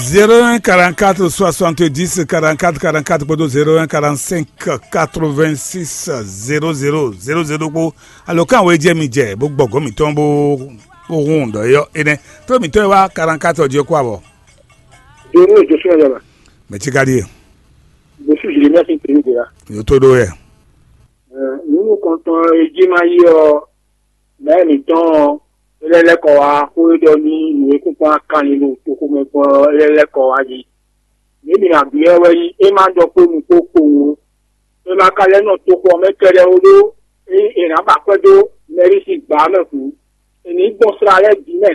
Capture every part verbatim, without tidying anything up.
Zéro un quarante-quatre soixante-dix quarante-quatre quarante-quatre kpódó zéro un quarante-cinq quatre-vingt-six zéro zéro zéro zéro kpó. Alɔkan wo jɛ mi jɛ bó gbɔgɔ mitɔn bó bó hun dɔ yɔ enɛ. Tó mitɔn wa quarante-quatre ɔjɔ kó abɔ. Donu Joshua Yaba. Mɛ tsi ka di ye. Joshua Jeremiah sin pelu de la. Yo to do yɛ. Nunu kɔntɔn eji ma yi ɔ. Mɛ mǐtɔn ɔ́, é lɛ́ lɛ́ kɔ wá xó e ɖɔ nú nǔ e kún kpɔ́n akanlin ɖo toxomɛ gbɔn ɔ́, é lɛ́ lɛ́ kɔ wá jí. Mǐ mǐ ná byɔ́ ɛ wɛ nyí é ma ɖɔ kpó nukpó kpowun ó. É ma ka lɛ́ nɔ toxo ɔ́ mɛ kɛɖɛ́ ó ɖó é è nǎ ba akwɛ́ dó Mɛrísi gbǎ mɛ hǔn, è nǐ gbɔn sla lɛ́ɛ bǐ mɛ.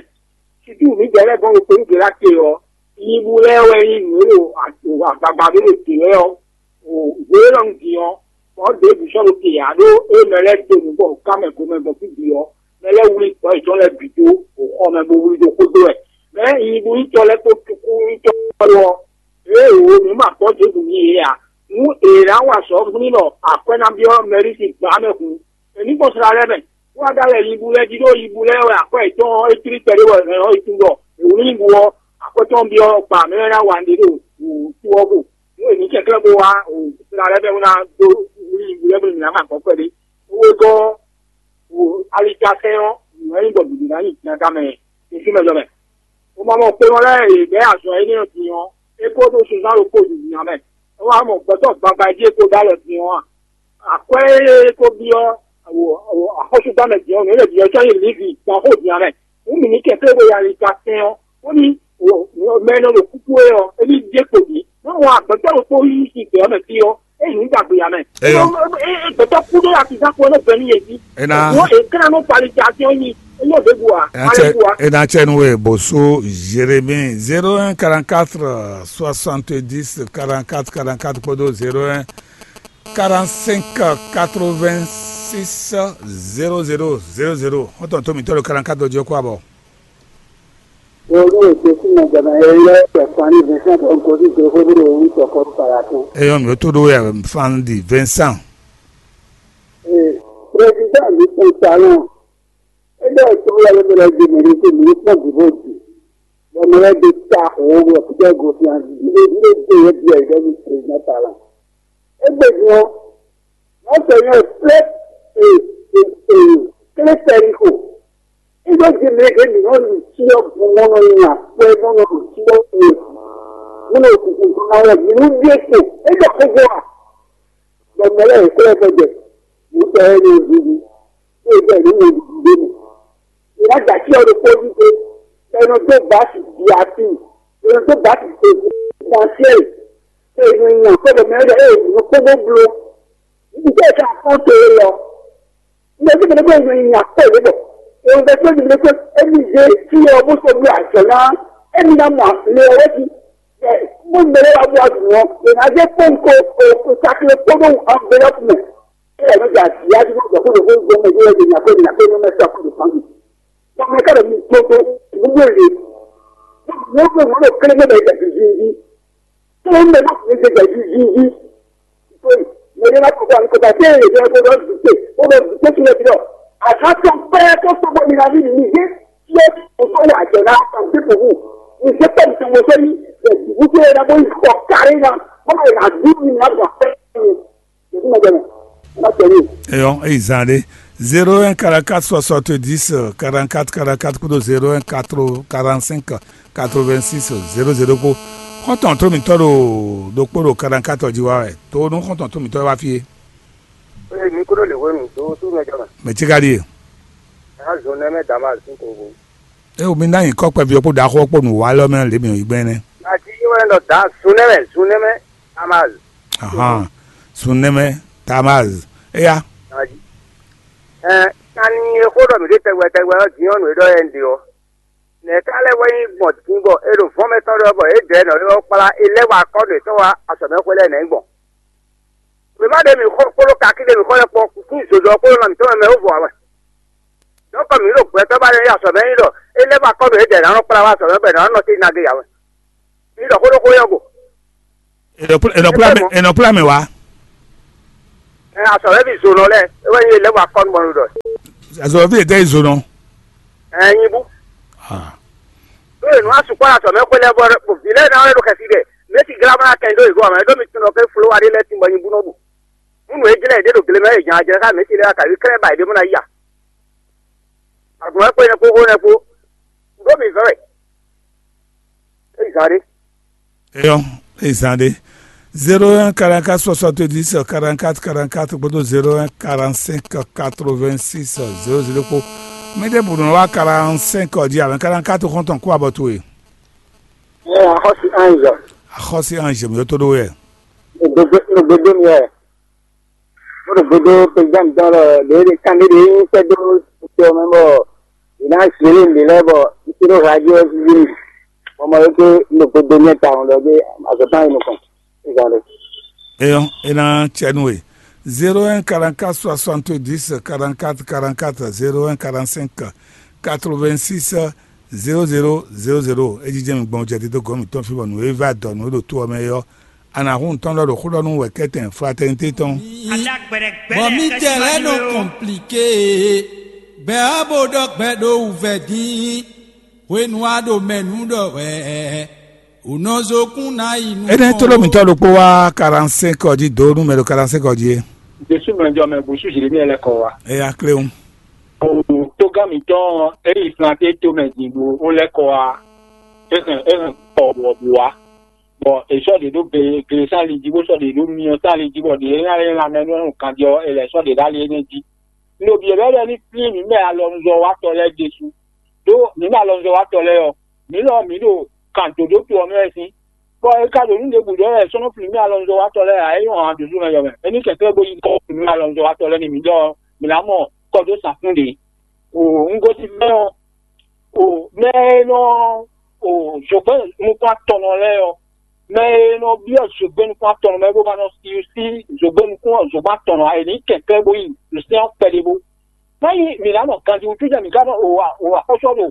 Sitúu mǐdɛɛ lɛ́ɛ gbɔn ɖo Peligela te ɔ́, nyibú lɛ́ɛ wɛ nyí nǔ e ɖo agbagba ɖó ɖo dě lɛ́ɛ ɔ́. Hwelɔ́nu din ɔ́, kpɔ̌ ɖěbǔ sɔ́ ɖo te ǎ ɖó é mɛ lɛ́ɛ dó nǔ bɔ ká mɛ gomɛ gbɔn fí bǐ ɔ́, mɛ lɛ́ɛ wlí gbɔ̌ yětɔn lɛ́ɛ bǐ dó xɔ mɛ bó wlí dó xwé dó wɛ. Mɛ nyibúnyitɔ́ lɛ́ɛ kpó cukúnyitɔ́ lɛ́ɛ ɔ́, ée wǒ mǐ ma gbɔ́ Jezu n'i é ǎ. Nú è nǎ wa azɔ̌ n'i ɖɔ akwɛ́ ná byɔ́ Mɛlísi gbǎ mɛ hǔn, è ní gbɔn sla lɛ́ɛ mɛ, bó wá ɖó alɛ nyibú lɛ́ɛ jí ɖó nyibú lɛ́ɛ wɛ akwɛ́ yětɔn ɔ́ é tlí kpɛɖé wɛ hɛn ɔ́ é tunwun ɖɔ è wlí nyibú ɔ́, akwɛ́ tɔn byɔ́ gbǎ mɛ lɛ́ɛ ná wa nǔɖé ɖo wǔtu ɔ́ go. Nú è nǐ kɛnklɛ́n bó wá sla lɛ́ɛ mɛ bó ná dó wlí nyibú lɛ́ɛ bó nú mǐ ná ma gbɔn kpɛɖé. Owó gɔ́ alitafɛn ɔ́, nǔ e nyí bɔ bǐbí ná nyi jǐnaga mɛ ɖésú mɛ jɔ mɛ. Xomamɔ kpénɔ lɛ́ɛ e bɛ́ azɔ̌ énɛ́ ɔ́ din ɔ́, é kó ɖó sunzán ɖokpó ɖu nya mɛ. É wá mɔ gbɛtɔ́ gbagba e jí é ko ɖó alɔ din ɔ́ a? Akwɛ́ e é ko byɔ́ axɔ́súgbámɛ din ɔ́, nǔ e lě byɔ́ sɔ́ nyi Livi gbǎn xó din nya mɛ. Nǔ mǐ ní kɛ fé bó yi alitafɛn ɔ́, bóní mɛ e nɔ ɖo kúkú é ɔ́, é ní ɖe kpo bǐ. Má wɔn agbɛ̌tɔ́ ɖokpó yí sin gbě ɔ́ mɛ fí ɔ́, é nyǐ ɖagbe ǎ mɛ. Eyɔ. Gbɛtɔ́ kú ɖó atizán kú ɔ́ nɔ gbɛ nú yě jí. Ena. Wọ́n è kán nú palitasíɔn nyi, é nyɔ ɖěbǔ ǎ. Ena cɛ ena cɛ nu we bòsó Jérémie zéro un quarante quatre soixante dix quarante quatre quarante quatre kpódó zéro un quarante cinq quatre vingt six zéro zéro zéro zéro. Xɔ́ntɔn tó mǐtɔn ɖo quarante quatre jí ɔ́ kó abɔ. Olú ètò sí mọ̀gbọ̀nà ẹ̀yẹ pẹ̀fọ́nì Vincent Onkosi Jehova ló ń sọ̀kọ́ Paratún. Eyɔn mi ó tó ɖó wɛ fan di Vincent. Ee, Président mi tún salon. Ebe ètò wɛ ló bẹ̀rẹ̀ di mi ní kí mi ní pọ́n dìbò dì. Bọ́mọ rẹ̀ di ta òwò rẹ̀ kúkẹ́ gòfin àti ìdílé ìdílé dé yẹ bí ẹ̀yẹ bí Président salon. Egbe din ɔ́, Mɔ̌sɛnyɛ kplé e e e kplé Sɛliko. Iɖo jí mɛ ɖě mǐ nɔ ɖu cyɔ bɔ mɔ nɔ nya kpɛ mɔ nɔ ɖu cyɔ kpɛ mɔ nɔ kuku ná wɛ mǐ nú ɖíe kpo é ɖɔ xóxó a? Bɔ mɛ lɛ́ɛ yě kplɔ́ ɛ gbɛjɛ, mǐ tɔ ɛ ní ɖuɖu, é jɛ nǔ mɛ ɖuɖu ɖé mɛ. È nǎ jɛ ací ɔ́ ɖokpó jí pé, bɔ è nɔ dó bǎsi bǐ atín, è nɔ dó bǎsi kpé kpɔ́nsiɛ́, è nɔ nya kpɔ́ bɔ mɛ lɛ́ɛ ɖɔ ée nǔ kpó bó bló. Ntɛ́ɛ ka kpɔ́n to élɔ́? Ntɛ́ɛ mɛ ɖé bó è nɔ nya kpɔ́ yě bɔ è nɔ bɛ kpé mɛ kpé émi zé fí ɔ́ bó sɔ́ bló azɔ̌ ná émi ná mɔ le ɔ́ wɛ́ jí. Bó mɛ lɛ́ɛ wá bó wá dùn ɔ́, è nǎ zé kpɔ́n ko o sakle kpódó anvelɔ́pu mɛ. Ée nɔ ja vǐyá jí nɔ gbɔ kó ɖo xó gbɔ mɛ yé wɛ nya kó nya kó nɔ mɛ sɔ kó ɖo fán mi. Bɔ mɛ ká ɖo mi gbogbo, nǔgbó le. Nǔgbó nǔgbó kéré mɛ bɛ jɛ zinzin. Tó mɛ bá mi jɛ jɛ zinzin. Tó mɛ yé bá kó kó kó bá tẹ́ ẹ̀ yẹ kó bá dùté, kó bá dùté kí lè fi lọ. Àká tó pẹ́ kó tó bọ́ mi ná bí mi yé. Yé kó tó wà jẹ ná kó tó kó wù. Mi jẹ́ pẹ́ mi tó mo sẹ́yìn. Ẹ̀ dùkú tó yẹ ná bó yí kọ̀ kárí ná. Bọ́lá yẹ ná dùn mi ná bọ̀ pẹ́ mi. Eyɔn eyi zan ɖe zéro un quarante quatre soixante dix quarante quatre quarante quatre kpódó zéro un quatre quarante cinq quatre vingt six zéro zéro kpó. Xɔ́ntɔn tó mǐtɔn ɖo ɖokpó ɖo quarante quatre jí wá wɛ tó nú xɔ́ntɔn tó mǐtɔn wá fí é. Ee, mi kúrò lè wénu tó súnmọ́ jama. Mɛ tí ka ɖíe. Azɔn nɛ mɛ dama sin ko ko. E o mi ná nyǐkɔ kpɛví ɔ́ kpó ɖaxó ɔ́ kpó nǔwalɔ mɛ lě mǐ yi gbɛn nɛ́. Àti yín wɛ nɔ da zun nɛ mɛ zun nɛ mɛ. Tamaz. Ahan, sun nɛmɛ Tamaz. Eya. Ɛ tani e xó ɖɔ mǐ ɖe tɛgbɛ tɛgbɛ ɔ́ din ɔ́ nǔ e ɖɔ yɛ un ɖe ɔ́. Nɛ̌ ka lɛ́ wɛ nyí gbɔn din bɔ è ɖo vɔ̌n mɛtɔn ɖɔ bɔ é dɛ nɔ ylɔ́ kplá é lɛ́ wá akɔ́ ɖo yětɔn wá azɔ̌mɛxwé lɛ́ɛ nɛ̌ gbɔn? Wěma ɖe mǐ xɔ kpódó kakí ɖe mǐ xɔ lɛ́ɛ kpɔ́n kúkú zozɔ kpódó nɔ mǐtɔn mɛ mɛ wó vɔ ǎ wɛ. Donc mǐ ɖo gbɛtɔ́ ba ɖe nyí azɔ̌mɛ nyí ɖɔ é lɛ́ wá akɔ́ ɖo é dɛ nǎ nɔ kplá wá azɔ̌mɛ bɔ è nǎ nɔ te nagbe ǎ wɛ. Mǐ ɖɔ xó ɖó xó nyɔ́ go. È nɔ kplá mɛ wá. Ɛ azɔ̌mɛví zonɔ lɛ́ɛ é wɛ nyí é lɛ́ wá akɔ́ nú mɔnu ɖɔ. Azɔ̌mɛví ètɛ́ yi zonɔ. Ɛ nyi bú. Ɖó è nǔ asukpɔ́ ɖo azɔ̌ mɛ xwé lɛ́ɛ bɔ vǐ lɛ́ɛ ná wɛ ɖo xɛsi ɖɛ. Mɛ̌si glá bó ná kɛ nyi ɖó yě gɔ́ ǎ mɛ, ɖó mi tunwun ɖɔ ké folówa ɖé lɛ́ɛ tínbɔ nyi bú nɔ́ ɖu. Nú nǔ e jlɛ́ yě ɖe ɖo gle mɛ é jǎn jlɛ́ xá mɛ̌si lɛ́ɛ wá kaví klɛ́ ba yě ɖě bó ná yi a? Azɔ̌ mɛ xwé nɛ́ kpó xó nɛ́ kpó. Ɖó mi zɔ́n wɛ. É zǎn ɖé. Eyɔ́, é zǎn ɖé. Zéro un quarante-quatre soixante-dix quarante-quatre quarante-quatre kpódó zéro un quarante-cinq quatre-vingt-six zéro zéro kpó. Mɛɖé bǔ nɔ wá quarante-cinq ɔ́ jí ǎ mɛ, quarante-quatre xɔ́ntɔn kú abɔ towe. Ɛ axɔ́sí Ange. Axɔ́sí Ange mi tó ɖó wɛ. Nugbedo mi wɛ. Bó ɖo gbedo président dɔn lɔ ɖe ɖe kan ɖe ɖe nyí kpɛdó tɔ mɛ bɔ yě ná zlé ɖe lɛ bɔ ntí ɖo radio ɔ́ ví mi. Bɔ mɔ ɖokpó un ɖo gbedo nyɛ tawun ɖɔ gbé azɔ̌tán yi nukɔn. Ìgbà ɖe. Eyɔ́, é ná cɛ nú we. Zéro un quarante-quatre soixante-dix quarante-quatre quarante-quatre, zéro un quarante-cinq quatre-vingt-six zéro zéro zéro zéro. É jijɛ mi gbɔn jɛ dídó gɔ̌n mǐtɔn fí bɔ nǔ e va dɔ nǔ e ɖo tó ɔ́ mɛ é ɔ́, a nǎ hun tɔn ɖɔ ɖo xó ɖɔ nú wɛ̌kɛ́tɛn fraternité tɔn. Bɔ mi tɛ lɛ nɔ kɔnplike, bɛ a bo ɖɔ gbɛ ɖo wuvɛ dín, hwenu a ɖo mɛ nú ɖɔ wɛ, o nɔ zokún ná yi nú. Énɛ́ tló mǐtɔn ɖokpó wá quarante-cinq ɔ́ jí dó nú mɛ ɖo quarante-cinq ɔ́ jí é. Jésù mɛ jɔ mɛ bǔsú Jeremíɛ lɛ́ kɔ wá. Eya kléwún. O tógán mǐtɔn e yi Flante tomɛ din ɖo ó lɛ́ kɔ wá. É hɛn é hɛn kɔ wɔ̌bu wá. Bɔ è sɔ́ ɖě ɖó gle sán ali jí, bó sɔ́ ɖě ɖó myɔ sán ali jí, bɔ ɖě e nya lɛ́ lanmɛ nú kanjɔ è lɛ̌ sɔ́ ɖě ɖó ali énɛ́ jí. Un ɖo byɔ̌byɔ́ ɖɔ ní flín mǐ mɛ alɔnuzɔ́watɔ́ lɛ́ɛ ɖésú. Ɖó mǐ mɛ alɔnuzɔ́watɔ́ lɛ́ɛ ɔ́, mǐ lɔ mǐ ɖo kan dǒdó to ɔ́ mɛ wɛ sín. Bɔ è ka ɖo nǔ ɖěbǔ ɖɔ wɛ è sɔ́ nɔ flín mì alɔnuzɔ́watɔ́ lɛ́ɛ ǎ, é nyɔ́ han dǒdó mɛ yɔ mɛ. É ní kɛnklɛ́n bó yí kɔ flín mì alɔnuzɔ́watɔ́ lɛ́ɛ n'i mǐ ɖɔ mǐ ná mɔ kɔdó safún ɖě. O un gosín mɛ ɔ́, o mɛ e nɔ o zǒgbɛ́ nukún atɔnnɔ lɛ́ɛ ɔ́, mɛ e nɔ byɔ́ zǒgbɛ́ nukún atɔnnɔ mɛ bó ma nɔ sí sí zǒgbɛ́ nukún zǒgbɛ́ atɔnnɔ ǎ, è nǐ kɛnklɛ́n bó yi ɖo sɛ́n ɔ́ kpɛɖé bó. Má nyí mǐ ná nɔ ganjí wútu jɛ mǐ ká nɔ o axɔ́sú ɔ́ ɖo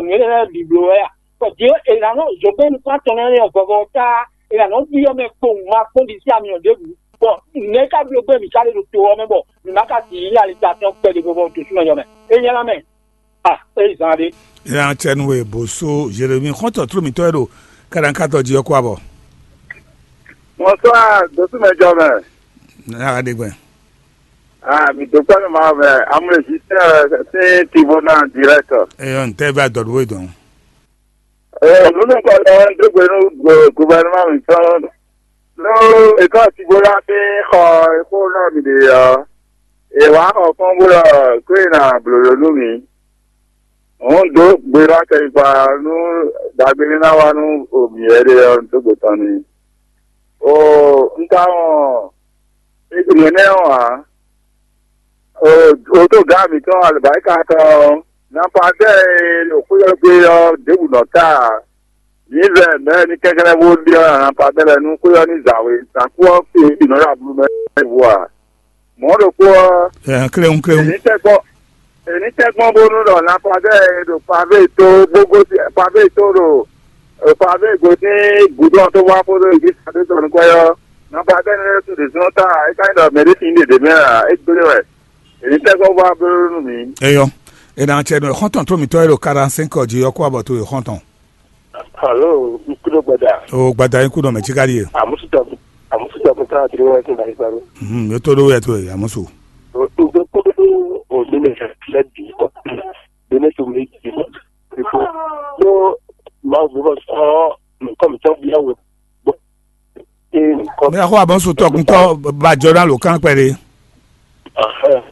nǔ énɛ́ lɛ́ɛ bǐ bló wɛ a? Bɔ Jǐ è nǎ nɔ zǒgbɛ́ nukún atɔnnɔ énɛ́ ɔ́ vɔvɔ ɔ́ tá, è nǎ nɔ byɔ́ mɛ kpowun ma kpɔ́n ɖi sí amyɔ ɖěbǔ. Bɔ nɛ̌ ká bló gbɛ́ mǐ ká ɖe ɖo to ɔ́ mɛ bɔ mǐ má ka sixú nyí alisatɔ́ kpɛɖé vɔvɔ ɖo súnɔ yɔ mɛ? É nyɛ ná mɛ. A é zán ɖé. Nya cɛnu e bǒsó Jeremi xɔ́ntɔn tló mǐtɔn e ɖo kɛɖɛ̌nkatɔ jí ɔ́ kó abɔ. Bonsoir, dosúmɛjɔ mɛ. Nya ɖe gbɛn. Ah, mi dɔkpɛ́ mi ma mɛ amúlé jí tɛ sí tivo náà direct. Eyɔ ntɛ bá dɔdú we dɔn. Ee, nunu kɔ lɛ dógbe nú gouvernement mi tɔn. Ló ekɔ tivo la fi xɔ ekó náà mi ɖe ɔ. Èwà xɔ kpɔ́n bó ɖɔ kó e nà blǒ nú mi. Òun dó gbe ɖó akɛnyigba nú ɖagbe ní ná wá nú mǐ wɛ ɖe ɔ́, dó gbe tɔn n'i. O un ka wɔn nǔ énɛ́ ɔ́ ǎ. O tó gǎ mǐtɔn alɔbǎyíká tɔn ɔ́, nanpadɛ́ e ɖo xwé ɔ́ gbe ɔ́, ɖěbǔ nɔ ta ǎ. Mǐ vɛ mɛ̌ ní kɛnklɛ́n bó ɖyɔ́ nanpadɛ́ lɛ́ɛ nú xwé ɔ́ ní zawě, zǎnkú ɔ́, è bǐ nɔ ɖo ablu mɛ vo ǎ. Mɔ̌ ɖokpó ɔ́, Ɛɛ, kléwún kléwún. Ènítɛ́gbɔ́ ènítɛ́gbɔ́ bónú ɖɔ Lapadɛ́ e ɖo Pavé tó bó gosín Pavé tó ɖo Pavé gosín gǔdo ɔ́ tó wá kpódó Egípta tó tɔn nukɔn ɔ́, Lapadɛ́ nɛ́ lɛ́ɛ su ɖě zɔ́n ta é ka nyí ɖɔ mɛ ɖé sin ɖě ɖě mɛ ǎ, é gblé wɛ. Ènítɛ́gbɔ́ wá bló nú mǐ. Eyɔ, e na cɛ nɔ xɔntɔn tó mǐtɔn e ɖo quarante-cinq ɔ́ jí ɔ́ kó abɔ tó e xɔntɔn. Alo, n kúɖó gbada. O gbada yín kúɖó mɛ tsi ka ɖíe. Àmúsùtọ̀ àmúsùtọ̀ kún táwọn tí wọ́n ti bàyí parọ́. Mhm, yóò tó ɖó wẹ̀ tó yẹ àmúsù. Ǹjẹ́ kó tó òní lè fẹ́ bì í kọ́? Bẹ́ẹ̀ tó mi jì mọ́. Ìfọ̀ tó máa ń gbọ́ sọ nǹkan mi tán bí ẹ̀wẹ̀ gbọ́. Ṣé nǹkan Mɛ xɔ abɔ sotɔ kuntɔ ba jɔ na lo kan kpɛ de.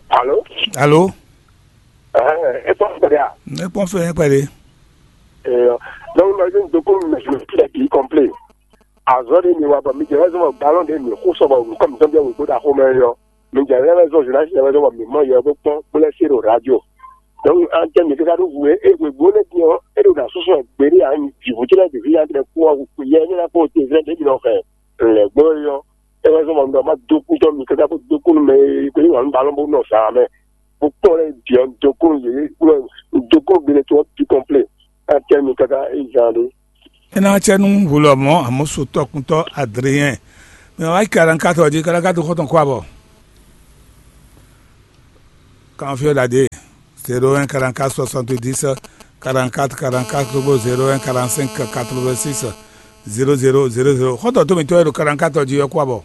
Alo? Alo? Ẹ kpɔn fɛ ya? Ne kpɔn fɛ kpɛ de. Ee, donc ma je doko mi me fi la bi complain. Azɔ de mi wa ba mi je raison ma ballon de mi ko so ba mi comme ça bien we ko da ko me yo. Mi je raison je na je raison ba mi mo yo ko pon pour les sur radio. Donc an tɛ mi ka do vous e we bo le bien e do da so so gbere a ni di vous la de vie entre quoi vous ye ni la ko te vrai de mi no fe. Le gbo yo. E raison ba mi ma do ku to mi ka ko do ku me ko ni wa mi ballon bo no sa me. Bukpɔn lɛ diɔ doko yeye kplɔ doko gbele tɔ tu kɔnplɛ. Atɛ mi kaka ezan ɖe. Ena tsɛ nu wulɔ mɔ amusu tɔkuntɔ Adrien. Mɛ wa karankatɔ di karankatɔ xɔtɔn kɔ abɔ. Kanfiɔ dade. Zéro un quarante-quatre soixante-dix quarante-quatre quarante-quatre kpódó zéro un quarante-cinq quatre-vingt-six zéro zéro zéro zéro. Xɔ́ntɔn tó mǐtɔn e ɖo quarante-quatre jí ɔ́ kú abɔ.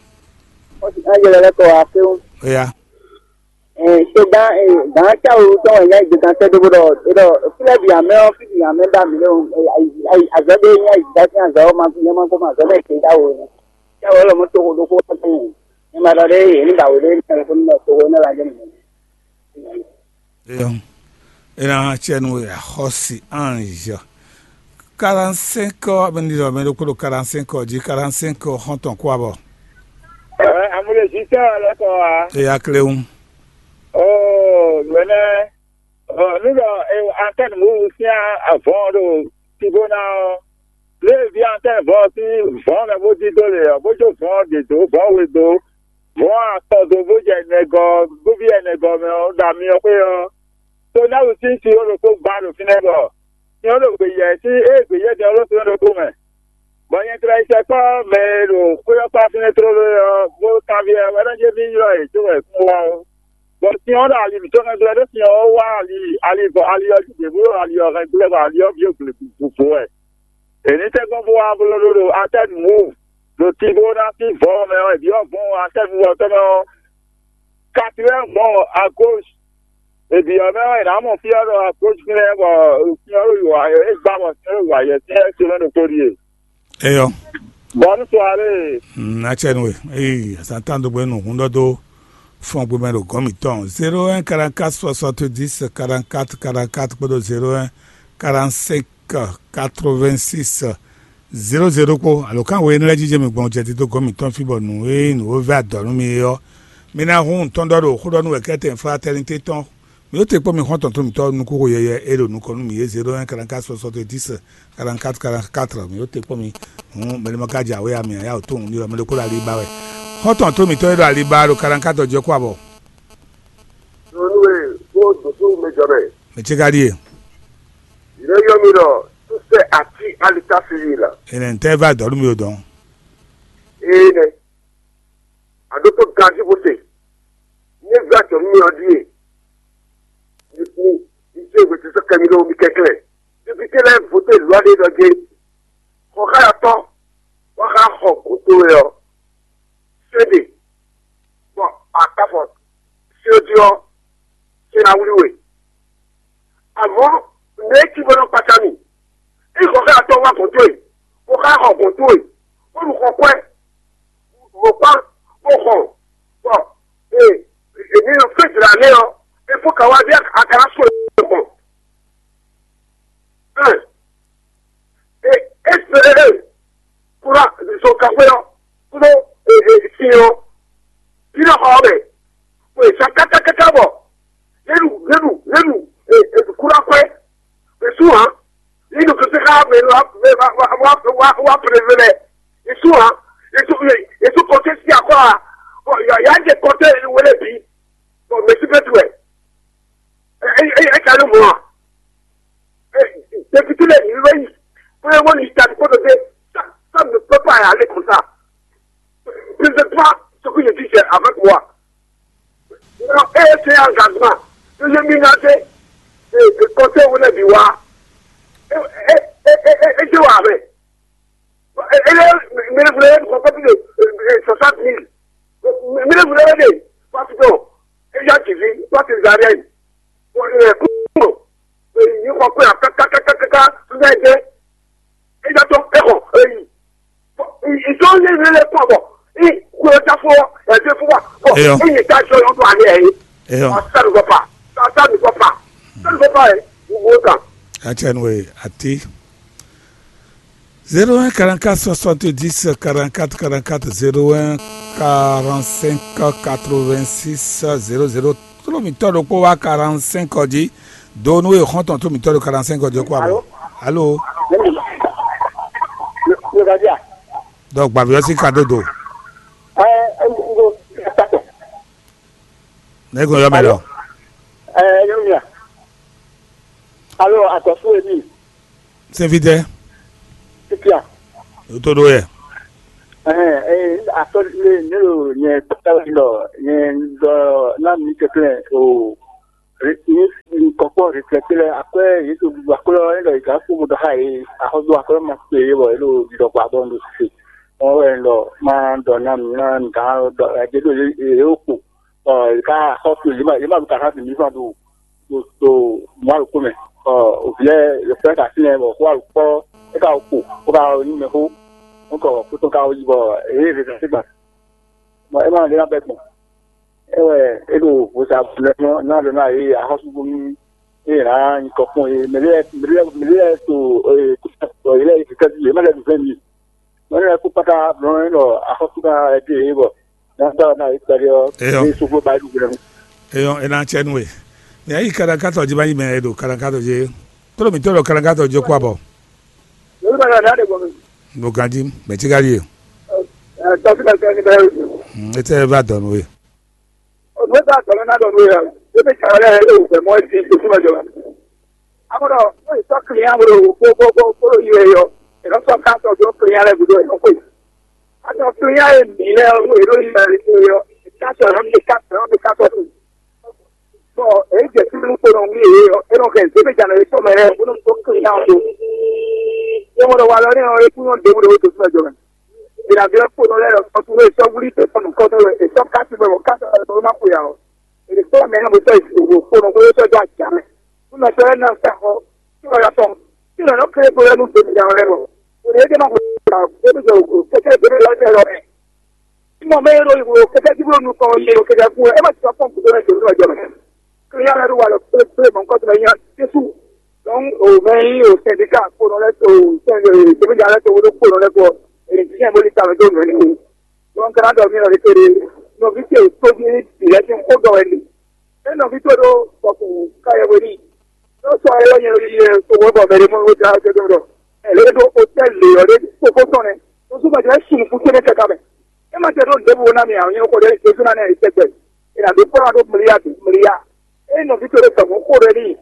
Ɔ́ sì ká yɛlɛ lɛ́ kɔ wá fɛ́wɔ́n. Eya. Ṣe gán gán táwo tɔn wɛ nyá ìgbésán tɛ́ dó bó ɖɔ é ɖɔ fúlẹ̀ bì àmẹ́ ɔ́ fí bì àmẹ́ bá mì lé o. Azɔ̌ ɖé nyá ìgbésán sín azɔ̌ ɔ́ ma nyɛ ma kó ma azɔ̌ mɛ ké táwo. Táwo lɔ mɔ toxo ɖokó tɛ́. Nyɛ ma ɖɔ ɖé yě ní ba wě ɖé ní ɛlɛfónú mɛ toxo ní ɛlɛ ajé nìyẹn. Eyɔn, ena tiɛ nu axɔ́si ange. Quarante-cinq ɔ, mɛ ɖiɖɔ mɛ ɖokpó ɖo quarante-cinq ɔ jí, quarante-cinq ɔ xɔ́ntɔn kú abɔ. Amúlé zitɔ lɛkɔ wa. Eya kléwún. Oh, nwenɛ. Oh, nu ɖɔ antenne mu sian avɔn ɖo tibo na ɔ. Lé vi antenne vɔ sín vɔ̌n mɛ bó dídó lě ɔ́, bó jó vɔ̌n ɖě dó, vɔ̌n we dó, vɔ̌n atɔn dó, bó jɛ nɛgɔ, bó bí ɛnɛgɔ mɛ ɔ́, ɖo amyɔ xwé ɔ́, Tonáwu sín sin ɔ́ ɖokpó gba ɖo fínɛ́ bɔ sin ɔ́ ɖo gbeyɛ sín ée gbeyɛ́ din ɔ́ ɖo sin ɔ́ ɖokpó mɛ. Bɔ nyɛ tlɛ yi sɛkpɔ́ mɛ e ɖo xwé ɔ́ kpá fínɛ́ tlóló é ɔ́, bó kanbyɔ́ wɛ ɖɔ jé mí ylɔ́ yě có wɛ kún wá ó. Bɔ sin ɔ́ ɖo ali mǐtɔn hɛn glɛ́ ɖó sin ɔ́ wá ali ali vɔ ali ɔ́ jí ɖě bó ɖo ali ɔ́ hɛn glɛ́ bɔ ali ɔ́ bǐ ɖo gle gǔdo wɛ. È nǐ tɛ́nkpɔ́n bó wá bló ɖó ɖo Atɛ́nu wú, ɖo Tibo ná sín vɔ̌ mɛ ɔ́, è byɔ́ vɔ̌ Atɛ́nu ɔ́ tɔn mɛ ɔ́, Katilɛ́n gbɔn agóz. È byɔ́ mɛ ɔ́, è nǎ mɔ fí ɔ́ ɖɔ agóz fínɛ́ bɔ fí ɔ́ ɖo yǒ é gbá bɔ fí ɔ́ ɖo yǒ ayɛ tɛ́ é se mɛ ɖokpó ɖíe. Eyɔ. Bɔnu soirée. Mm, atsɛ nu e. Eyi, Satan do gbenu hun dɔ do fɔn gbemɛ ɖo gɔn mitɔn. Zéro un quarante-quatre soixante-dix quarante-quatre quarante-quatre kpódó zéro un quarante-cinq quatre-vingt-six zéro zéro kpó alo kan wo énɛ́ lɛ́ɛ jijɛ mi gbɔn jɛ dídó gɔn mitɔn fí bɔ nǔ e nǔ e vɛ́ adɔ̌ nú mi é ɔ́, mi ná hun tɔn ɖɔ ɖo xó ɖɔ nú wɛ kɛ́tɛn fraternité tɔn. Mi ó te kpɔ́n mi xɔ́ntɔn tó mitɔn nukúnxó yɛyɛ é ɖo nukɔn nú mi é zéro un quarante-quatre soixante-dix quarante-quatre quarante-quatre. Mi ó te kpɔ́n mi. Hǔn mɛɖé ma ka jɛ awě ya mi ǎ, yá wǒ tóun ní ɔ́, mɛ ɖokpó ɖo ali ba wɛ. Xɔ́ntɔn tó mitɔn e ɖo ali ba ɖo quarante-quatre ɔ́ jɛ kó abɔ. Nunu e kó dǒtú mɛ jɔ mɛ. Mɛ ce ka ɖíe. Yě nɔ ylɔ́ mì ɖɔ sɛ́ atí alita fífi la. Enɛ ntɛ va dɔ̌ nú mi o dɔn. Ee nɛ. Aɖótó ganjí bó se. Ní vá jɔ nú mi ɔ́ ɖíe. Ní ní ní tí èwe ti sɔ́ kɛ mi ɖó mi kɛnklɛ́n. Député lɛ́ɛ voté lwa ɖé ɖɔ jé. Xɔ xá yatɔ́ wá xá xɔ gǒ towe ɔ́, sɛ́ ɖe, bɔ a ka fɔ sɛ́ ɔ́ jí ɔ́, sɛ́ ná wlí we. Amɔ̌, nɛ̌ cí bó nɔ kpata mì? Ényí xɔ xá yatɔ́ wá gǒ towe, bó xá xɔ gǒ towe, bó ɖu xɔ kwɛ́, bó kpá, bó xɔ, bɔ e e ní nɔ fɛ́ jlǎ nɛ́ ɔ́, é fó ka wá bí a ka ná sɔ́ ɛ gbɔn. Ɛn, e e e e kura zɔn kaxwé ɔ́ kpódó e e sin ɔ́, bí nɔ xɔ ɔ́ mɛ, bó e sa kákákáká bɔ, lélu lélu lélu e e kura kwɛ́, e sú hǎn, lélu kɛsɛ ká mɛ wá mɛ wá wá wá wá wá pèlè mɛ, e sú hǎn, e sú e sú kɔtɛ sí akɔ a, bɔ yà yà jẹ kɔtɛ wele bi, bɔ mɛ sí bɛ tu wɛ. Ɛ ɛ ɛ ɛ ka ló mɔ a? Ɛ, député lɛ yìí wɛ yìí. Pé wọ́n ní ìtàn kó tó dé. Ça, ça ne peut pas aller comme ça. Je ne veux pas ce que je dis, c'est avec moi. Non, et c'est un engagement. Que je m'engage et, et compter où les biwa. Et, et, et, et, et, et je vois avec. Ele mele vle kɔkɔ bi de soixante mille. Mele vle de parce que eya ti vi parce que zariɛ yi. Kúrò èyí kɔ pé àkákákákáká fúnfẹ́ jẹ́. Eya tó ẹ̀kọ́ èyí. Ìjọ yé mi lè pọ̀ bọ̀. Ìkúrò jáfọ́ ẹ̀jẹ̀ fún wa. Eyɔ. Ìyẹn ká jọ lọ́dún alẹ́ yìí. Eyɔ. Ọ̀sán ló bọ̀ pa. Ọ̀sán ló bọ̀ pa. Ọ̀sán ló bọ̀ pa ẹ̀. Gbogbo kan. Atsɛ nu e ati. Zéro un quarante-quatre soixante-dix quarante-quatre quarante-quatre zéro un quarante-cinq quatre-vingt-six zéro zéro. Tó mǐtɔn ɖokpó wá quarante-cinq ɔ́ jí. Do nú e xɔ́ntɔn tó mǐtɔn ɖo quarante-cinq ɔ́ jí kó abɔ. Alo. Alo. Dɔ gbavi ɔ́ sí ka dó do. Ne ko yɔ mɛ lɔ. Ɛ yɔ mia. Alo, atɔsu emi. Sɛfidɛ. Titia. O to ɖo yɛ. Ɛɛ, atɔ le ne ɖo nyɛ kpata lɔ nyɛ dɔ na mi kɛkɛ o. Ní kɔkpɔ́ reflɛkté lɛ́ɛ akwɛ́ yě ɖo ɖuɖu akwɛ́ ɔ́, é ɖɔ yě gǎn kpó mo ɖɔ xá yě axɔ́sú akwɛ́ ma kpé yě bɔ yě ɖo ɖiɖɔ kpa bɔ un ɖo sise. Wọ́n wɛ un ɖɔ má ɖɔ ná mi ná mi gǎn ɖɔ ɛ ɖě ɖo yě yě ó kpo. Ɔ yě ká axɔ́sú yě ma yě ma ɖu kaxá bǐ mǐ fan ɖo ɖo ɖo mɔ̌ alukó mɛ. Ɔ òvǐ lɛ́ɛ yě fɛ́ ka fínɛ́ bɔ xó alukpɔ́ é ka kpo bó ka nyí mɛxó. Nukɔ kútɔn ka yi bɔ yě yě zɛ sígba. Bɔ é ma lé ná bɛ́ gbɔn. É wɛ é ɖo vodún ná ɖɔ ná yě axɔ́súgbónú é ná nyí kɔ kpɔn é mɛ lɛ́ɛ mɛ lɛ́ɛ mɛ lɛ́ɛ to é yě lɛ́ɛ yě kɛkɛ yě má lɛ́ɛ ɖu fɛn mi. Mɛ lɛ́ɛ kó kpáta blɔ́ é ɖɔ axɔ́sú ká ɛ dé é bɔ ná dá ná yě kpɛɖé ɔ́ Eyɔ. É sógbó ba é ɖu gbɛ́nú. Eyɔ, é ná cɛ nú we. Mɛ ayi kalankatɔ jí ma yi mɛ e ɖo kalankatɔ jí. Tló mǐtɔn ɖo kalankatɔ jí kó abɔ. Lórí bá yàrá de gbɔn mi. Mo ganjí, mɛ tí ká ɖíe. Ɛ tɔsí bɛ fẹ́ ní bɛ. Etɛ va dɔn nú we. Ònú bá tɔ̀lọ́ ná dɔn nú ya. Ebi kàwé lɛ ɛ lé òfɛ mɔ ẹ ti tó súnmọ́ jọ. Amúdọ̀ ó yẹ sọ kìlìyàn wúlò kó kó kó kó yẹ yọ. Ìlọ sọ ká sọ tó kìlìyàn lẹ gùdó ìlọ pé. Àtọ̀ kìlìyàn yẹ mí lẹ ó yẹ ló yẹ yọ. Ká sọ ẹ lọ bí ká sọ ẹ lọ bí ká sọ tó. Bɔn èyí jɛ fí nukpó nɔ wuli yě ɔ, é nɔ hɛn zébéjǎnɔ yětɔn mɛ lɛ́ɛ bó nɔ tó klinyawo dó. É mɔ ɖɔ walɔ nɛ́ ɔ́, é kún nyɔ́ ɖěbǔ ɖě wǒ dó súnmɛ jɔ mɛ. È nǎ glɛ́ kpónɔ lɛ́ɛ ɖɔ sɔ́ súnmɛ sɔ́ wlí tɔn nukɔn tɔn e sɔ́ ká tún mɛ bɔ ká tɔn mɛ bó ná xwe ǎ ɔ́. È nǐ kplɔ́ mɛ nɔ bó sɔ́ yi wǒ kpónɔ bó sɔ́ dó ajǎ mɛ. Nú mɛ tɔn lɛ́ɛ ná sa xɔ, tí wọ́n yɔ tɔn, tí nɔ nɔ kéré kpó lɛ́ɛ nú zébéjǎnɔ lɛ́ɛ bɔ. È nǐ é dé má xwe ǎ, zébéjǎnɔ kɛkɛ zébéjǎnɔ lɛ́ɛ lɔ mɛ. Mɔ mɛ e ɖo kɛkɛ jí bó nukɔn yɛ ɖo kɛkɛ kú ɛ ma sɔ pɔnpu ɖó mɛ jǒnú ɔjɔ mɛ. Kí ya lɛ ɖo wa lɔ kplé kplé mɔ nukɔn tɔn nya Jesu. Donc o mɛ yi o sɛndika kponɔ lɛ to sɛndika lɛ to wolo kponɔ lɛ kɔ. Èyí tiɲɛ bó li tamɛ dó nɔ ni. Donc kana dɔ mi lɔ de kéré. Nɔvi ce tóbi bì lɛ ti kó dɔ wɛ ni. É nɔví towe ɖó bɔ kún ká yɛ hwe n'i. Nɔ sɔ ayɔ nyɛ yi yɛ sɔwɔ bɔ mɛ ɖe mɔ wota jɛ dɔn dɔ. Ɛlɛ ɖo hotɛl le yɔ ɖe kpokpo tɔn nɛ. Nusú ma jɛ sun kú tɛnɛ kaka mɛ. E ma jɛ ɖo ɖěbǔ na mi awɔ nyɛ xɔ ɖe Jesu na nɛ tɛgbɛ. E na ɖo kpɔ́ na ɖo mliya mliya. E nɔví towe ɖo gbɛmɔ xo ɖe n'i.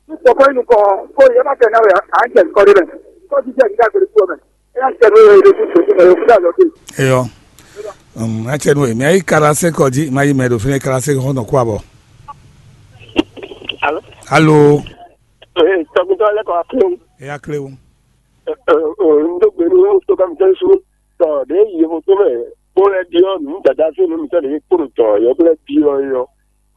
Nú kpɔkɔ yi nukɔn ko yɛ ma tɛ na wɛ a jɛ kɔ ɖe mɛ. Kɔ jijɛ mi ka gbeli kú mɛ. E na tɛ ɖo yɛ ɖo tu to mɛ o kuda lɔ ke. Eyɔ. Um, acɛ nu e mi ayi kala se kɔ ji ma yi mɛ ɖo fínɛ kala se kɔ nɔ kó abɔ. Alo. Alo. Ee, tɔgbuntɔ lɛ kɔ aklo. E aklo. Ee, n do gbe nu to ka mi tɛ su. Tɔ de yi mo to mɛ. Ko lɛ di ɔ nu dada se nu mi tɛ de kporo tɔ yɔ ko lɛ di ɔ yɔ.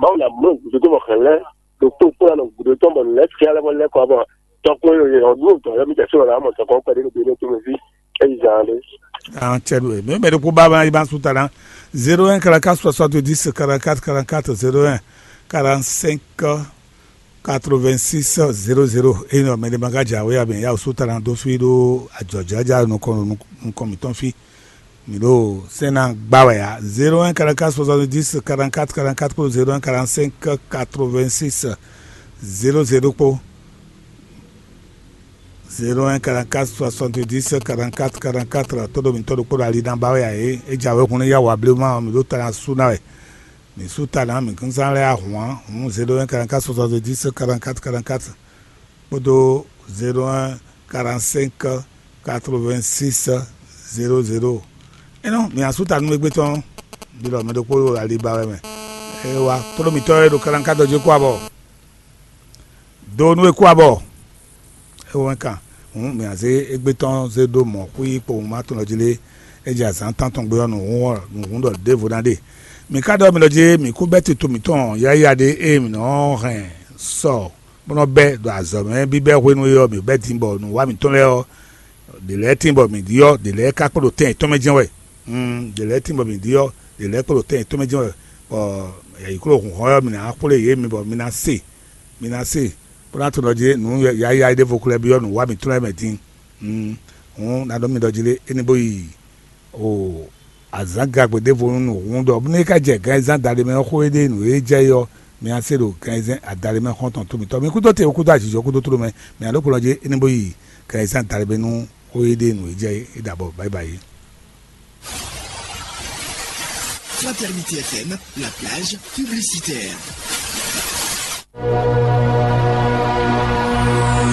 Mawu na mɔ gudo to bɔ xɛ lɛ. Do kporo kporo na gudo tɔ bɔ lɛ tia lɛ bɔ lɛ kɔ bɔ. Tɔ ko yɔ yɔ nu tɔ yɔ mi tɛ so la mɔ tɔ kɔ kpɛ de do gbe to mɛ fi. Eyi zan de. Ah, cɛ do e. Mɛ mɛ de ko ba ba yi ba su ta na. Zéro un quarante-quatre soixante-dix quarante-quatre quarante-quatre, zéro un quarante-cinq quatre-vingt-six zéro zéro. Eno mɛ de ma ka ja we abin ya su ta na do fi do ajɔjaja nukɔn nukɔn mi tɔn fi. Mi do sena gba wɛ ya. Zéro un quarante-quatre soixante-dix quarante-quatre quarante-quatre pour zéro un quarante-cinq quatre-vingt-six zéro zéro po. Zéro un quarante-quatre soixante-dix quarante-quatre quarante-quatre. Todo mi todo kpɔɖo ali na ba wɛ ayi. E ja wɛ kun ya wa blema mi do ta na su na wɛ. Mi su ta na mi kun san lɛ ahwan. Hun zéro un quarante-quatre soixante-dix quarante-quatre quarante-quatre. Kpɔɖo zéro un quarante-cinq quatre-vingt-six zéro zéro. Enɔ mi asu ta nu egbe tɔn. Bi lɔ mi do kpɔɖo ali ba wɛ mɛ. E wa todo mi tɔ e do quarante-quatre do je kó abɔ. Do nú e kú abɔ. É wɛn kan. Hǔn mǐ ná zé égbé tɔn zé ɖó mɔ̌ xwí kpowun ma tɔn jí lé. É jɛ azǎn tántɔn gbe ɔ́, nǔhún ɔ́, nǔhún ɖɔ ɖěvo ná ɖe. Mǐ ka ɖɔ mi ɖɔ jí mǐ kú bɛ́ tito mǐtɔn yáyá ɖé ée mǐ nɔ hɛn sɔ bó nɔ bɛ́ ɖo azɔ̌ mɛ bíbɛ́ hwenu é ɔ́, mǐ bɛ́ din bɔ nǔwá mǐtɔn lɛ́ɛ ɔ́, ɖě lɛ́ɛ tíin bɔ mǐ ɖyɔ́, ɖě lɛ́ɛ ka kpo ɖo tɛn yětɔn mɛ jɛ́n wɛ. Ɖě lɛ́ɛ tíin bɔ mǐ ɖyɔ́, ɖě lɛ́ɛ kpo ɖo tɛn yětɔn mɛ jɛ́n wɛ. Bɔ yǐkló hǔnhɔ́n ɔ́, mǐ ná xwlé yě mi bɔ mi ná se, mi ná se, bó ná tunɔ jí nǔ yáyá ɖěvo xlɛ́ byɔ́ nǔwá mǐtɔn lɛ́ɛ mɛ din. Hǔn ná ɖɔ mi ɖɔ jí lé, é ní bó yi o azǎn gagbe ɖěvo nú nǔhún ɖɔ bónú é ka jɛ gǎnzán adaɖé mɛ ɔ́, xó e ɖe nǔ e jɛ é ɔ́, mi ná se ɖo gǎnzán adaɖé mɛ xɔ́ntɔn tó mitɔn. Mi kúdó te, kúdó ajijɔ kúdó tló mɛ, mi ná ɖó kplɔ́n jí é ní bó yi gǎnzán adaɖé mɛ nú xó e ɖe nǔ e jɛ é ɖabɔ. Báyibáyi. Fraternité F M, la plage publicitaire.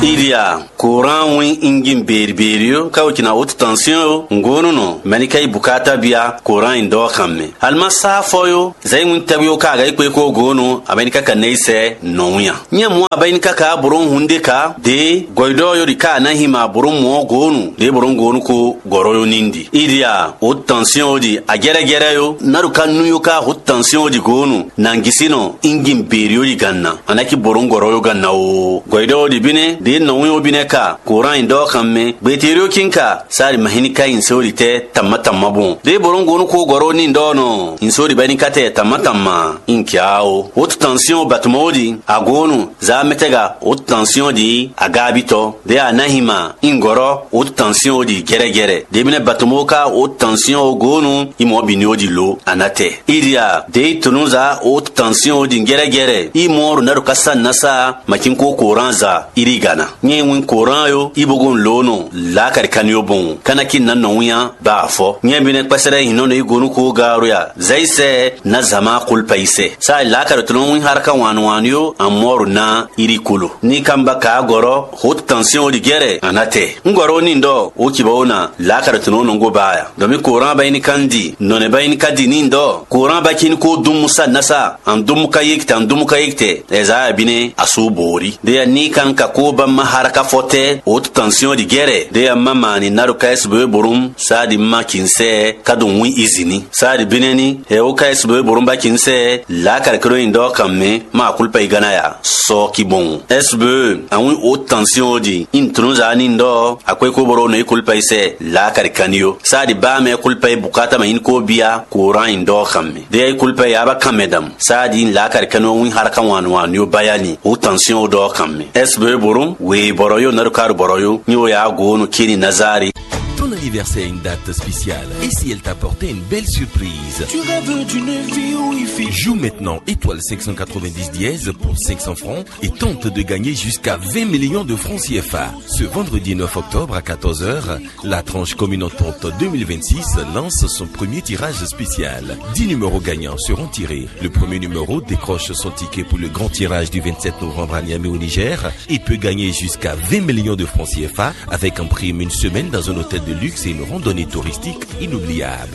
Ilia, Koran win injin beri beri yo, ka wokina wot tansiyon yo, ngonu no, mɛnika yi bukata bia, Koran in dɔ kan me. Alima sa fɔ yo, zai win tɛwi ka ga yi kpe ko gonu, abayinika ka ne sɛ nɔ win a. Nya mu abayinika ka boro hunde ka, de goidɔ yo di ka na hima boro mu gonu, de boro gonu ko gɔrɔ yo nindi. Ilia, wot tansiyon di, a gɛrɛ gɛrɛ yo, na du ka nu yo ka wot tansiyon di gonu, nangisino, injin beri yo di ganna. Anaki boron gɔrɔ yo ganna o. Gɔidɔ di bine, de nɔwin o bine ka, Koran in dɔ kan me. Gbeterio kin ka, sari mahini ka in sori tɛ, tamma tamma bon. De boron gonu ko gɔrɔ ni dɔ nɔ, in sori bani ka tɛ, tamma tamma. In kia o. Wot tansiyon batuma o di, agonu, za metega, wot tansiyon di, agabitɔ. De anahima, in gɔrɔ, wot tansiyon di, gɛrɛ gɛrɛ. De bine batuma o ka, wot tansiyon o gonu, imɔ bini o di lo, anatɛ. Iria, de i tonu za, wot tansiyon o di, gɛrɛ gɛrɛ. I mɔ ro na do ka sa nasa, makin ko Koran za, iri gana. Nye win Koran yo, i bogon lo no, la kari kani yo bon. Kana ki na nɔ winya, ba afɔ. Nye bine kpɛsɛrɛ hinɔ no i gonu ko garu ya. Zaisɛ, na zama kulpa isɛ. Sa la kari tonu win haraka wan wan yo, amɔru na, iri kolo. Ni kamba ka gɔrɔ, hot tansiyon o di gɛrɛ, anatɛ. Ngɔrɔ ni dɔ, o kiba o na, la kari tonu no go ba ya. Domi Koran ba ini kandi, nɔnɛ ba ini kadi ni dɔ. Koran ba kin ko dum sa nasa, an dum ka yik te, an dum ka yik te. Ezaya bine, asu bori. De ya ni kan ka ko ba ma haraka fɔtɛ, o tansiyon di gɛrɛ. De ya mama ni nado ka esbe borum, sa di ma kin sɛ, ka dum wi izini. Sa di bine ni, e o ka esbe borum ba kin sɛ, la kari kero in dɔ kan me, ma kulpa igana ya. Sɔ ki bon. Esbe, an wi o tansiyon di, in trunza ni dɔ, akwe ko boro no i kulpa isɛ, la kari kanio. Sa di ba me kulpa i bukata ma in ko bia, Koran in dɔ kan me. De i kulpa ya ba kan me dam. Sa di in la kari kanio win haraka wan wan yo bayani, o tansiyon dɔ kan me. Esbe borum, we boro yo naru karu boro yo, ni o ya go no kini nazari. Ton anniversaire a une date spéciale. Et si elle t'apportait une belle surprise ? Tu rêves d'une vie où il fait... Joue maintenant étoile cinq cent quatre-vingt-dix dièse pour cinq cents francs et tente de gagner jusqu'à vingt millions de francs C F A. Ce vendredi neuf octobre à quatorze heures, la tranche communautante deux mille vingt-six lance son premier tirage spécial. Dix numéros gagnants seront tirés. Le premier numéro décroche son ticket pour le grand tirage du vingt-sept novembre à Niamey au Niger. Il peut gagner jusqu'à vingt millions de francs C F A avec en prime une semaine dans un hôtel de luxe et une randonnée touristique inoubliable.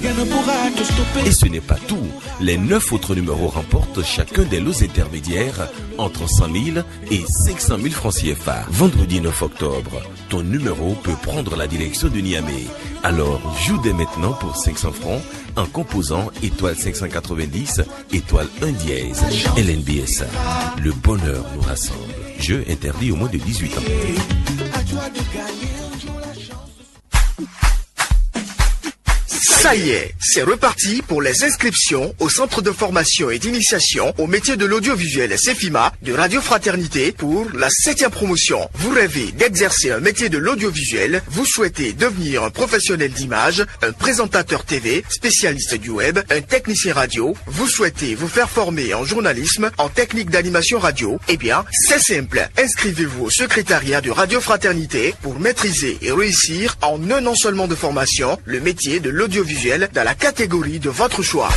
Et ce n'est pas tout. Les neuf autres numéros remportent chacun des lots intermédiaires entre cent mille et cinq cent mille francs C F A. Vendredi neuf octobre, ton numéro peut prendre la direction de Niamey. Alors, joue dès maintenant pour cinq cents francs en composant étoile cinq cent quatre-vingt-dix, étoile un dièse. L N B S A, le bonheur nous rassemble. Jeu interdit aux moins de dix-huit ans. Ça y est, c'est reparti pour les inscriptions au centre de formation et d'initiation au métier de l'audiovisuel Cefima de Radio Fraternité pour la septième promotion. Vous rêvez d'exercer un métier de l'audiovisuel, vous souhaitez devenir un professionnel d'image, un présentateur T V, spécialiste du web, un technicien radio, vous souhaitez vous faire former en journalisme, en technique d'animation radio ? Eh bien, c'est simple. Inscrivez-vous au secrétariat de Radio Fraternité pour maîtriser et réussir en un an seulement de formation le métier de l'audiovisuel dans la catégorie de votre choix.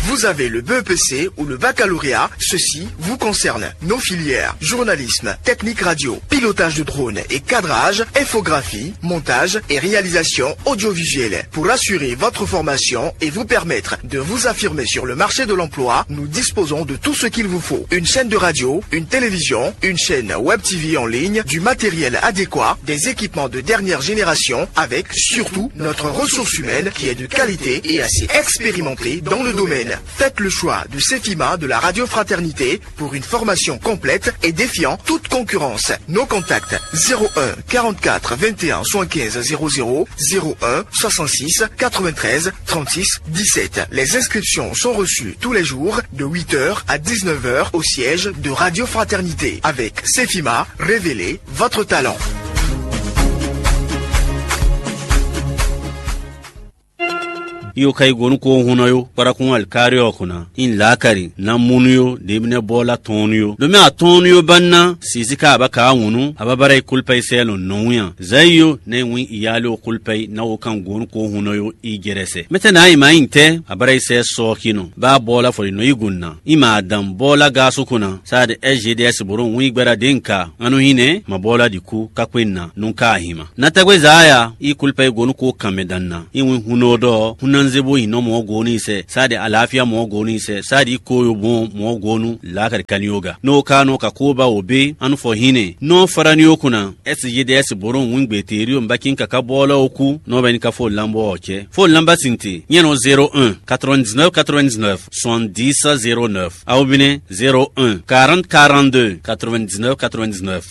Vous avez le B E P C ou le baccalauréat, ceci vous concerne. Nos filières, journalisme, technique radio, pilotage de drone et cadrage, infographie, montage et réalisation audiovisuelle. Pour assurer votre formation et vous permettre de vous affirmer sur le marché de l'emploi, nous disposons de tout ce qu'il vous faut. Une chaîne de radio, une télévision, une chaîne web T V en ligne, du matériel adéquat, des équipements de dernière génération, avec surtout notre ressource humaine qui est de qualité et assez expérimentée dans le domaine. Faites le choix de Cefima de la Radio Fraternité pour une formation complète et défiant toute concurrence. Nos contacts : zéro un, quarante-quatre, vingt et un, soixante-quinze, zéro zéro, zéro un, soixante-six, quatre-vingt-treize, trente-six, dix-sept. Les inscriptions sont reçues tous les jours de huit heures à dix-neuf heures au siège de Radio Fraternité. Avec Cefima, révélez votre talent. Iyo ka yi go nú ko hun nɔ yo kpaɖakun alikari ɔ́ kun ná. In lǎkari ná munu yo ɖěbínɛ́ bɔ́ lá tɔn nú yo. Ɖo mɛ atɔn nú yo ba ná sisi ka aba ka wun nú ababara yi kulpa yi sɛ lɔn nɔwun ya. Zayi yo ne win iyali o kulpa yi na wo kan go nú ko hun nɔ yo i jɛrɛsɛ. Mɛtɛ na yi ma yin tɛ abara yi sɛ sɔ kinɔ. Ba bɔ́ lá fɔ yi nɔ yi gun ná. I ma adam bɔ́ lá ga sukun ná. Sa de S G D S boro win gbɛɖa de nka. Anu hinɛ ma bɔ́ lá di ku kakpe na nú ka ahima. Na tɛgbɛ za ya i kulpa yi go nú ko kan mɛ dan ná. I win hun nɔ dɔ hun na nze bo yin nɔ mɔ go ni sɛ. Sa de alafia mɔ go ni sɛ. Sa di ko yo bon mɔ go nu la kadi kan yo ga. No ka no ka ko ba wo be anu fɔ hinɛ. No fara ni o kuna. S G D S boro win gbe te ri o mbakin kaka bɔla o ku. No bɛ ni ka fo lambo o cɛ. Fo lamba sinte. Nyɛ no zéro un quatre-vingt-dix-neuf quatre-vingt-dix-neuf soixante-dix zéro neuf. Awo bine zéro un quarante quarante-deux quatre-vingt-dix-neuf quatre-vingt-dix-neuf.